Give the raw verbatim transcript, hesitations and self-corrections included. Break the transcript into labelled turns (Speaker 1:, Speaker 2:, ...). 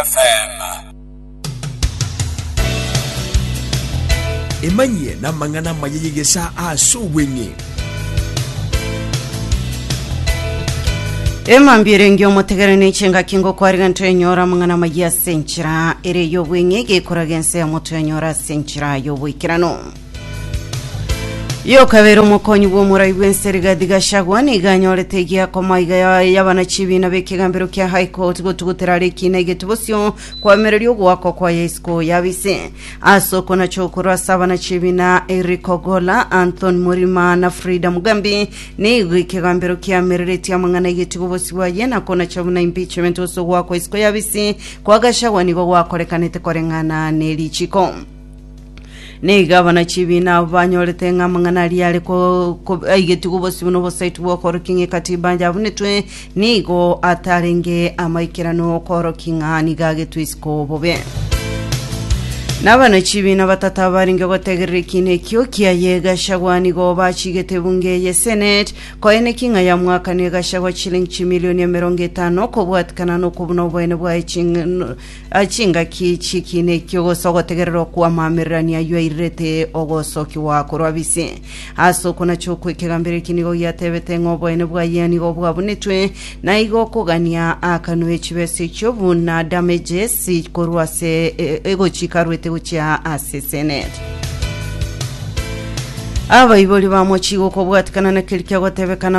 Speaker 1: F M.
Speaker 2: Emanyie namang'ana amaya y'egesaa ase obweng'e.
Speaker 3: Emambia erenge omotegere ne chingaki ngokwariga ntoenyora amang'ana amaya ase enchera ere y'obweng'e gekoraga ense ya motoenyora ase enchera y'oboikerano. Yokabera omokonyi bw'omorai bw'ense Rigathi Gachagua nigo anyorete egiakoma iga y'abana chibina b'ekegambero kia High Court gotugutera are ekina egeti bosio kwamereria ogoakwa kwaye isiko yabise ase okonacha okorwa ase abana chibina Eric Ogola, Anthony Murima na Frida Mugambi. Nigo ekegambero kiamereretie amang'ana egetigo bosio bwaye na konacha buna impeachment ase ogoakwa isiko yabisi kwa Gachagua nigo gwakorekanete koreng'ana nerichiko. Nigo abana chibina abo banyorete ng'a amang'ana aria are ko- ko- aigetigwe obosio buna obosaiti bwokorokia ng'a ekatiba yabunetwe nigo atarenge amaikerano okorokia ng'a nigo agetwe isiko bobe. Nabana chibina batata barenge gotegerera ekina ekio kiaye Gachagua nigo bachigete bunge ye Senate koene ng'a ya mwaka ne Gachagua chilingi chimilioni emerongo etano kobwatikana nokobuna oboene bwaye ching- chingaki chikina ekio gose ogotegerera okwamamererania aywo airirete ogosokiwa korwa bisi ase okonacha okwo. Ekegambero eki nigo giatebete ng'a oboene bwaye nigo bwabunetwe na igo okogania akanwe chibesa echio buna damages korwa ase e- egochika arwete gochia ase Senate. Abaibori bamochigo kobwatikana na keri kiagotebekana.